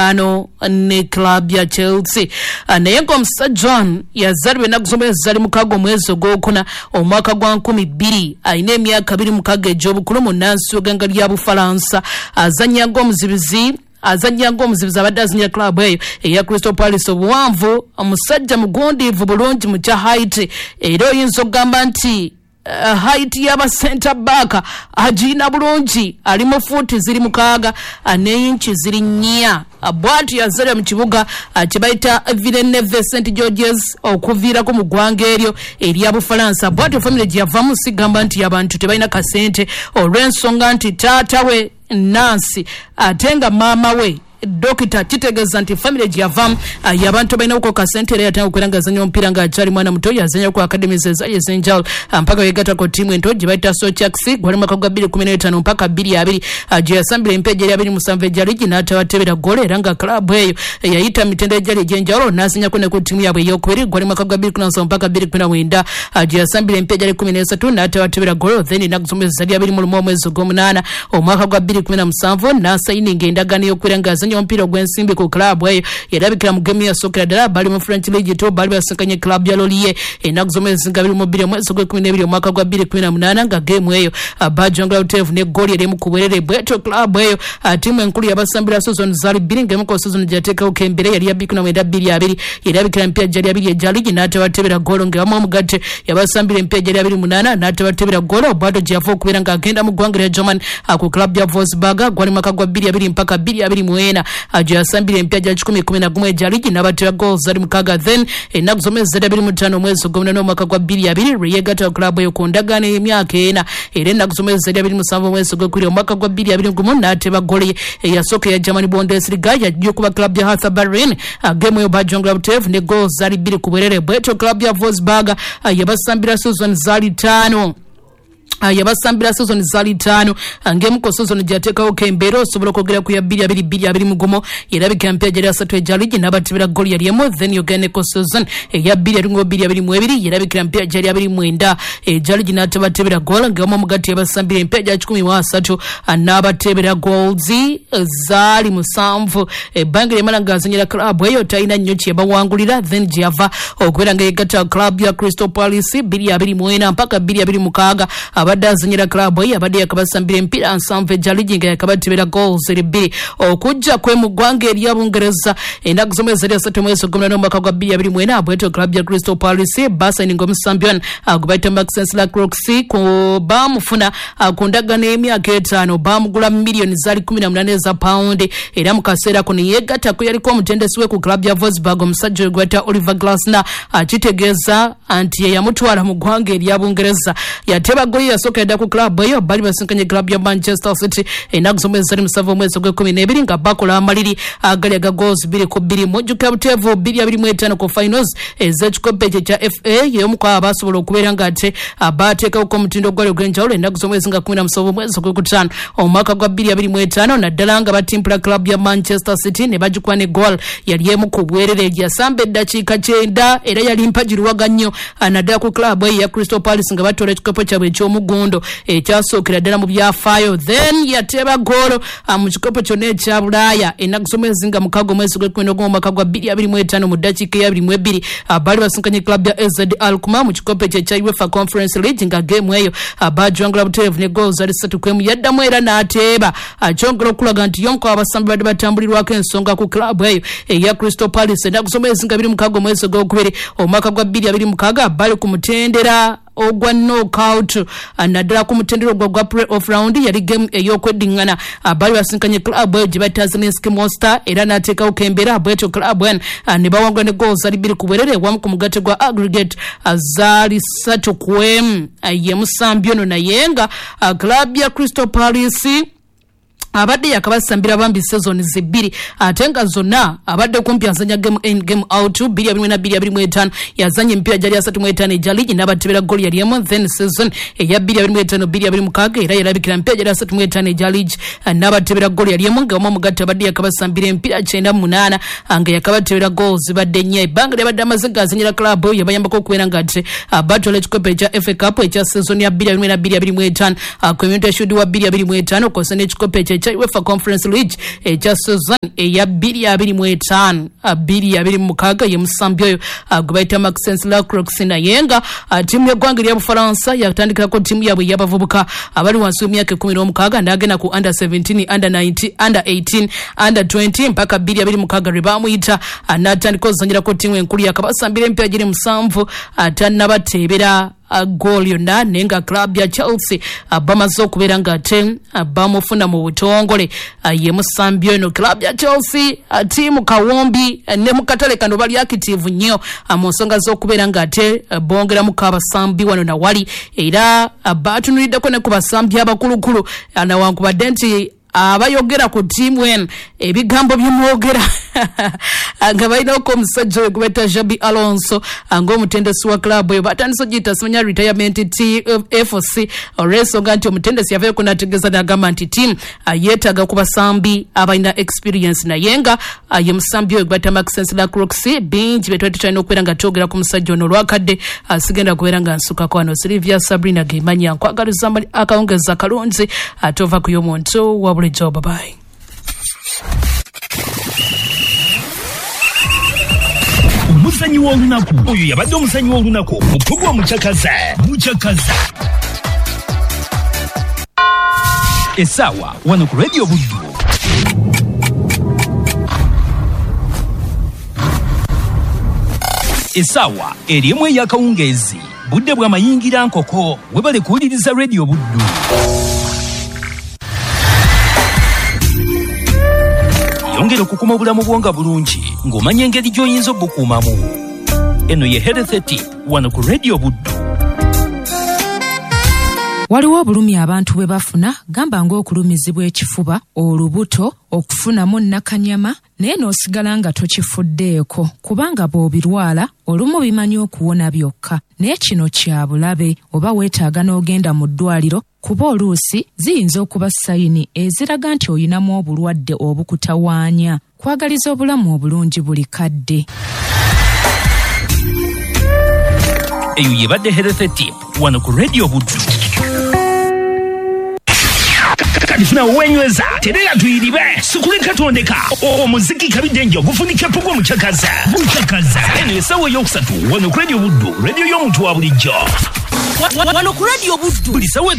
Endagaano ne club ya Chelsea. Naye ng'omusajja ono yazaalibwa ennaku z'omwezi zali 6 omwezi ogwokuna omwaka gwa 2000, alina emyaka 26 egy'obukulu, munnansi w'eggwanga lya Bufalansa, azannya ng'omuzibizi, abadde azannyira club eyo eya Crystal Palace. Obuwanvu omusajja mugundiivu bulungi mu kya height, era oyinza okugamba nti height y'aba center back agirina bulungi, ali mu fuuti ziri 6 n'eyinki ziri 4. Bw'atyo yazaalibwa mu kibuga kye bayita Villeneuve St Georges okuviirako mu ggwanga eryo erya Bufalansa. Bw'atyo famire gye yavamu sigamba nti abantu tebalina kasente, olw'ensonga nti taata we Nancy ate nga maama we dokita, kitegeeza nti famire gye yavamu y'abantu balina kasente. Era yatandika okubeera ng'azannya omupiira ng'akyali mwana muto, yazannya ku academies ezaali ez'enjawulo mpaka yegatta ku ttiimu ento gye bayita Sochaux, gwali mwaka gwa 2015 mpaka 2020, gye yasambira empeeja eri 27 egya liigi n'atabatebera ggolo, era nga club eyo yayita mitendera egyali egy'enjawulo n'azannyako ne ku ttiimu yaabwe ey'okubiri, gwali mwaka gwa 2017 mpaka 2019, gye yasambira empeeja eri 13 n'atabatebera ggolo. Then ennaku z'omwezi zali 21 omwezi ogw'omunaana omwaka gwa 2017 n'asayininga endagaano y'okubeera ng'azannya omupiira ogw'ensimbi ku club eyo. Yalabikira mu gemu yasookera ddala, bali mu French League 2, bali basinkanye club ya Lorient ennaku z'omwezi nga 22 omwezi ogw'ekkumi n'ebiri omwaka gwa 2018, nga gemu eyo bajongera butereevu ne ggooli erimu ku bwerere. Bwetyo club eyo, ttiimu enkulu yabasambira season zaali bbiri, ng'emu ku season gye yateekawo kembere yali ya 2019 20, yerabikira emipiira gyali 20 egya liigi n'atabatebera ggoolo, ng'ewamu omugatte yabasambira emipiira gyali 28 n'atabatebera ggoolo. Bwatyo gye yava okubeera ng'agenda mu ggwanga lya Germany ku club ya Wolfsburg, gwali mwaka gwa 2020 mpaka 2024, gye yasambira emipiira gya 111 egya liigi n'abatera goals zali 6. Then ennaku z'omwezi zali 25 omwezi ogw'omunaana omwaka gwa 2020 lwe yeegatta club eyo ku ndagaano y'emyaka 4, era ennaku z'omwezi zali 27 omwezi ogw'okubiri omwaka gwa 2021 n'ateba ggolo ye eyasooka eya Germany Bundesliga, yajja okuba club ya Hertha Berlin. Gemu eyo bajongera butereevu ne goals zali 2 ku bwerere. Bwetyo club ya Wolfsburg yabasambira season zaali 5, yabasambira season zaali 5, ng'emu ku season gyateekawo kembeera osobola okwogera ku ya 2022 2021, yerabika mpya gyali 3 egya liigi n'abatibira ggooli yali emu. Then yogera ne ku season eya 2021 2022, yerabikira mpya gyali 29 egya liigi n'atabatebera goal, ng'emu omugatte yabasambira empya gya 130 n'abatebera goals zaali 7. Ebbanga lyamala ng'azannyira club eyo talina nnyo kye bawangulira. Then gye yava okubeera nga yegatta club ya Crystal Palace 2024 mpaka 2026, abadde azannyira club eyo, abadde yakabasambira emipiira 70 egya liigi nga yakabatebera goals eri 2. Okujja kwe mu ggwanga erya Bungereza ennaku z'omwezi eri 3 omwezi ogw'omunaana omwaka gwa 2024, bwetyo club ya Crystal Palace basayininga omusambi ono gwe bayita Maxence Lacroix. Ku baamufuna ku ndagaano y'emyaka 5, baamugula miliyoni zaali 18 eza pawundi, era mu kaseera kuno yeegatta ku yaliko omutendesi we ku club ya Wolfsburg, omusajja oyo gwe bayita Oliver Glasner, kitegeeza nti ye yamutwala mu ggwanga erya Bungereza. Yateba goli yasooka yadda ku club eyo, bali basinkanye club ya Manchester City ennaku z'omwezi zali 7 omwezi ogw'ekkumi n'ebiri, nga bakola amaliri agali aga goals 2-2. Mujjukira buteevu 2025 ku finals ez'ekikopo ekyo ekya FA, y'omu ku abo abasobola okubeera nga ate bateekawoko omutindo ogwali ogw'enjawulo ennaku z'omwezi nga 17 omwezi ogw'okutaano omwaka gwa 2025, naddala nga batimpula club ya Manchester City ne bagikuba ne goal yali emu ku bwerere. Yasamba eddakiika 90, era yali mpagiruwaga nnyo naddala ku club eyo ya Crystal Palace nga batoola ekikopo kyabwe eky'omugundo ekyasookera ddala mu byafaayo. Then yateeba goolo mu kikopo kyonna ekya Bulaaya ennaku z'omwezi nga 6 omwezi gw'ekkumi n'ogumu omwaka gwa 2025, mu ddakiika eya 22, baali basinkanye club ya AZ Alkmaar mu kikopo ekyo ekya UEFA Conference League, nga geemu eyo bajwangula butereevu ne goals zali 3-1. Yaddamu era n'ateeba, kyongera okulaga nti y'omu ku abasambi badde batambulirwako ensonga ku club eyo eya Crystal Palace. Ennaku z'omwezi nga 26 omwezi ogwokubiri omwaka gwa 2026, bali ku mutendera ogwa knockout, naddala ku mutendera ogwa gwa play off round, yali game ey'okweddiŋŋana, baali basinkanye club eyo gye bayita Zrinjski Mostar, era n'ateekawo kembeera. Bwetyo club eno ne bawangula ne goals zali 2 ku bwerere, wamu ku mugatte gwa aggregate zaali 3-1. Ye musambi ono, naye nga club ya Crystal Palace abadde yakabasambira bambi season zibbiri, ate nga zonna abadde kumpi azanya game in game out. 2024 2025 yazanya emipiira gyali 35 egya liigi n'abatebera ggooli yali emu. Then season eya 2025 2026 era yalabikira emipiira gyali 35 egya liigi n'abatebera ggooli yali emu, nga omu omugatte abadde yakabasambira emipiira 98 nga yakabatebera goals zibadde 4. Ebbanga lyabadde amaze ng'azanyira club eyo yabayambako okubeera nga ate batwala ekikopo ekya FA Cup ekya season ya 2024 2025, Community Shield wa 2025, kw'ossa n'ekikopo ekyo. ekya UEFA Conference League ekya season eya 2025 2026. Ye musambi oyo gwe bayita Maxence Lacroix, naye nga ttiimu y'eggwanga erya Bufalansa yatandikirako ttiimu yaabwe ey'abavubuka abali wansi w'emyaka 16, n'agenda ku under 17, under 19, under 18, under 20 mpaka 2026 lwe baamuyita n'atandika ozanyirako ttiimu enkulu. Yakabasambira emipiira giri 7, tannabateebera goal yonna, naye nga club ya Chelsea bamaze okubeera nga ate bamufuna mu butongole. Ye musambi ono club ya Chelsea, ttiimu kawumbi ne mu katale kano bali active nnyo mu nsonga z'okubeera nga ate bongeramuko abasambi wano na wali, era batunuliddeko ne ku basambi abakulukulu, nawankubadde nti abayogera ku ttiimu eno ebigambo byemwogera nga balinako omusajja oyo gwe bayita Xabi Alonso ng'omutendesi wa club eyo. Batandise ogiyita simanya retirement TFC olw'ensonga nti omutendesi yavayo n'ategeeza n'agamba nti ttiimu yeetaaga ku basambi abalina experience, naye nga ye musambi oyo gwe bayita Maxence Lacroix. Bingi bye twali tukyalina okubeera nga twogera ku musajja ono, olwakadde sigenda kubeera nga nsukako wano. Silivia Sabrina Gemanya, nkwagaliza akawungezi akalungi, ate ova ku y'omuntu wa bulijjo. Babayi. Omuzanyi w'olunaku oyo yabadde omuzanyi w'olunaku mupugwa mucakaza mucakaza. Essaawa wano ku Radio Buddu essaawa eri 1 ey'akawungeezi, budde bw'amayingira nkoko. Webale kuwuliriza Radio Buddu. Yongera okukuma obulamu bwo nga bulungi ng'omanya engeri gy'oyinza obukuumamu. Eno ye Health Tip wano ku Radio Buddu. Waliwo obulumi abantu bwe bafuna, gamba ng'okulumizibwa ekifuba, olubuto, okufunamu nnakanyama, naye n'osigala nga tokifuddeeko, kubanga bw'obirwala olumu bimanyi okuwona byokka. Naye kino kya bulabe, oba weetaaga n'ogenda mu ddwaliro, kuba oluusi ziyinza okuba sayini eziraga nti oyinamu obulwadde obukutawaanya. Kwagaliza obulamu obulungi buli kadde. Eyo yebadde Health Tip wano ku Radio Buddu. Kati funa wenyweza terera tuyiribe sikuleka tondeka omuziki kabidde ogufunika pugwa mucakaza mucakaza. Eno essaawa eyokusatu wano ku Radio Buddu, radio y'omuntu wa bulijjo. Wano ku Radio Buddu buli ssaawa.